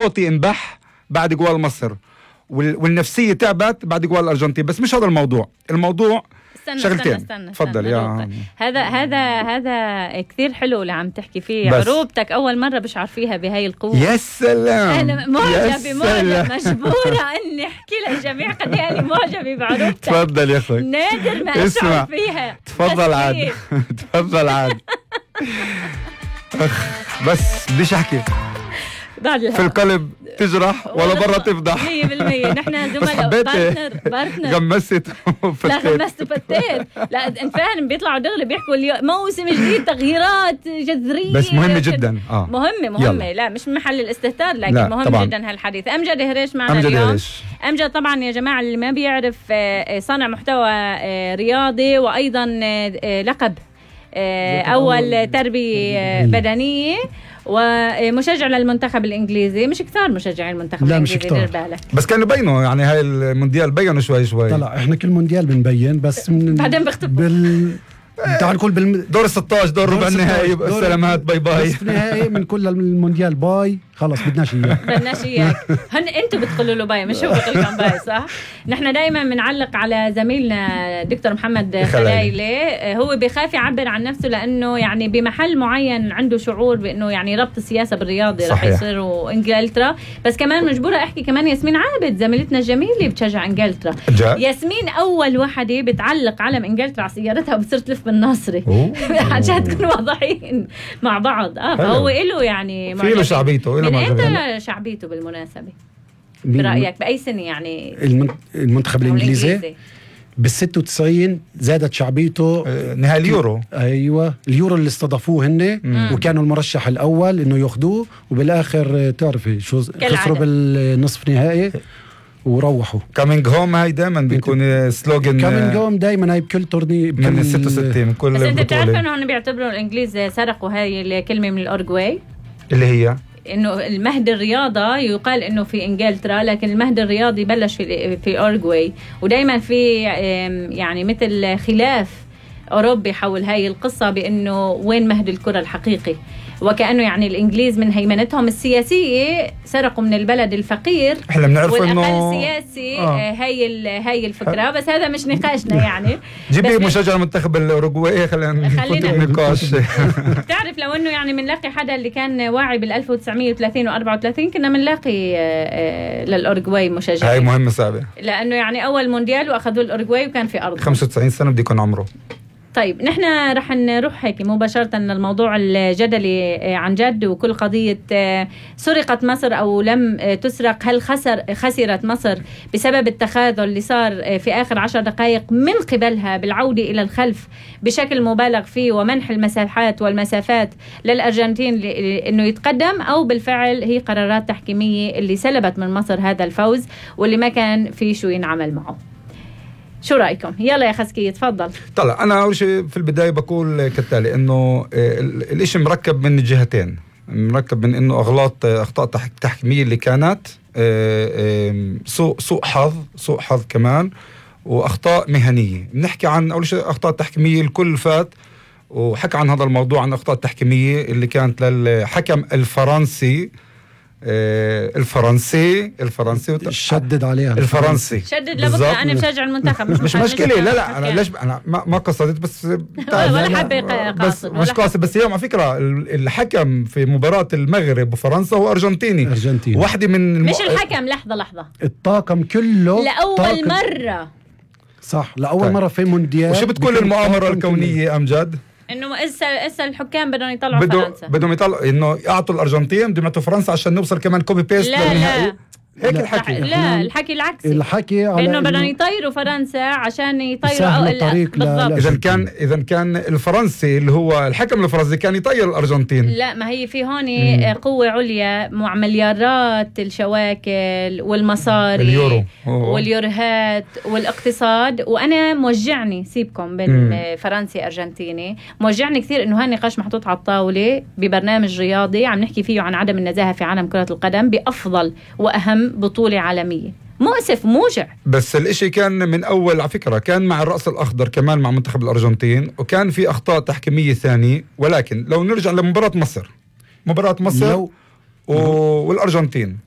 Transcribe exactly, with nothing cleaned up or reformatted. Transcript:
صوتي انبح بعد جوال مصر، والنفسية تعبت بعد جوال الأرجنتين. بس مش هذا الموضوع، الموضوع استنى شغلتين. استنى استنى تفضل استنى يا هذا هذا هذا كثير حلو اللي عم تحكي فيه. بس. عروبتك أول مرة بشعر فيها بهاي القوة. يا سلام، أنا معجبة معجبة مجبورة إني أحكي للجميع قد إيه أنا معجبة بعروبتك. تفضل يا أخوي، نادر ما أشعر فيها. تفضل عاد تفضل عاد أخ بس بديش أحكي في القلب تجرح ولا برا تفضح. مية بالمية نحن زملاء بارتنر بارتنر غمست لا غمست وفتيت. لا انت فاهم بيطلعوا دغري بيحكوا اليوم موسم جديد تغييرات جذرية بس مهمة جدا. اه مهمة مهمة يلا. لا مش محل الاستهتار لكن مهم طبعاً. جدا هالحديث. أمجد هريش معنا أمجد اليوم هريش. أمجد طبعا يا جماعة اللي ما بيعرف صانع محتوى رياضي وأيضا لقب أول تربية بدنية ومشجع للمنتخب الانجليزي. مش كثار مشجعين المنتخب لا الانجليزي مش كتار. دير بالك. بس كانوا بينوا يعني هاي المونديال بينوا شوي شوي. طلع احنا كل مونديال بنبين بس من بعدين بختبوا بال تعال نقول بال دور ستاشر دور ربع النهائي. السلامات باي باي. بس النهائي من كل المونديال باي خلص بدناش اياك بدناش اياك. هن انتوا بتقولوا له باي مش هو بيقول لكم باي صح. نحن دائما بنعلق على زميلنا دكتور محمد خلايلي. هو بيخاف يعبر عن نفسه لانه يعني بمحل معين عنده شعور بانه يعني ربط السياسه بالرياضه رح يصيروا انجلترا. بس كمان مجبوره احكي كمان ياسمين عابد زميلتنا الجميله بتشجع انجلترا. ياسمين اول وحده بتعلق علم انجلترا على سيارتها وبتصير تلف بالناصري عشان تكونوا واضحين مع بعض. اه فهو له يعني في له شعبيته. من امتى شعبيته بالمناسبة برأيك بأي سنة يعني المنتخب الإنجليزي؟ بالستة وتسعين زادت شعبيته نهائي اليورو. أيوة اليورو اللي استضافوه هن وكانوا المرشح الأول إنه يأخذوه وبالآخر تعرفي شو خسروا بالنصف نهائي وروحوا. كامينج هوم هاي دائما بيكون سلوغن. كامينج هوم دائما هاي بكل تورني من ستة وستين من كل بس بطولة. انت بتعرف انه هن بيعتبروا الانجليز سرقوا هاي الكلمة من الأورجواي اللي هي انه المهد الرياضة يقال انه في انجلترا لكن المهد الرياضي بلش في في أورجواي. ودائما في يعني مثل خلاف أوروبي حول هاي القصة بأنه وين مهد الكرة الحقيقي. وكأنه يعني الإنجليز من هيمنتهم السياسية سرقوا من البلد الفقير احنا بنعرف انه والأقل سياسي. آه. هاي هاي الفكرة. بس هذا مش نقاشنا يعني. جيبي مشجع المنتخب الأوروغواي خلينا نفوت بنقاش. بتعرف لو انه يعني بنلاقي حدا اللي كان واعي بال ألف وتسعمية وثلاثين وأربعة وثلاثين كنا بنلاقي للأوروغواي مشجعين. هاي مهمة صعبة لأنه يعني أول مونديال وأخذوا الأوروغواي وكان في أرض خمسة وتسعين سنة بدي يكون عمره. طيب نحن رح نروح هيك مباشرة للموضوع الجدلي عن جد وكل قضية سرقت مصر أو لم تسرق. هل خسر خسرت مصر بسبب التخاذل اللي صار في آخر عشر دقائق من قبلها بالعودة إلى الخلف بشكل مبالغ فيه ومنح المساحات والمسافات للأرجنتين إنه يتقدم، أو بالفعل هي قرارات تحكيمية اللي سلبت من مصر هذا الفوز واللي ما كان في شو ينعمل معه؟ شو رأيكم؟ يلا يا خسكية تفضل. طلع أنا أول شيء في البداية بقول كالتالي إنه الإشي مركب من الجهتين. مركب من إنه أغلاط أخطاء تحكيمية اللي كانت سوء سوء حظ سوء حظ كمان وأخطاء مهنية. بنحكي عن أول شيء أخطاء تحكيمية. الكل فات وحكى عن هذا الموضوع عن أخطاء تحكيمية اللي كانت للحكم الفرنسي آه الفرنسي الفرنسي وت... شدد عليها الفرنسي شدد لبكره. انا بشجع المنتخب مش مش مشكله. لا لا انا ليش انا ما, ما قصدت بس ولا حبه بس مش قاصد. بس اليوم على فكره الحكم في مباراه المغرب وفرنسا هو ارجنتيني. ارجنتيني واحده من الم... مش الحكم. لحظه لحظه الطاقم كله لاول طاقم. مره صح لاول طيب. مره في مونديال. وشو بتقول المؤامره الكونيه امجد؟ انه اسا اسا الحكام بدهم يطلعوا بدو فرنسا. بدهم يطلعوا انه يعطوا الارجنتين بدهم يعطوا فرنسا عشان نوصل كمان كوبي بيست للنهائي. هيك لا الحكي. لا الحكي العكسي. الحكي انه بدهم يطيروا فرنسا عشان يطيروا بالضبط. اذا كان اذا كان الفرنسي اللي هو الحكم الفرنسي كان يطير الارجنتين. لا ما هي في هون قوه عليا مع مليارات الشواكل والمصاري اليورو واليورهات والاقتصاد. وانا موجعني سيبكم بين فرنسي ارجنتيني موجعني كثير انه هالنقاش محطوط على الطاوله ببرنامج رياضي عم نحكي فيه عن عدم النزاهه في عالم كره القدم بافضل واهم بطولة عالمية. مؤسف موجع. بس الاشي كان من اول على فكرة كان مع الرأس الاخضر كمان مع منتخب الارجنتين وكان في اخطاء تحكيمية ثانية. ولكن لو نرجع لمباراة مصر مباراة مصر لو والارجنتين.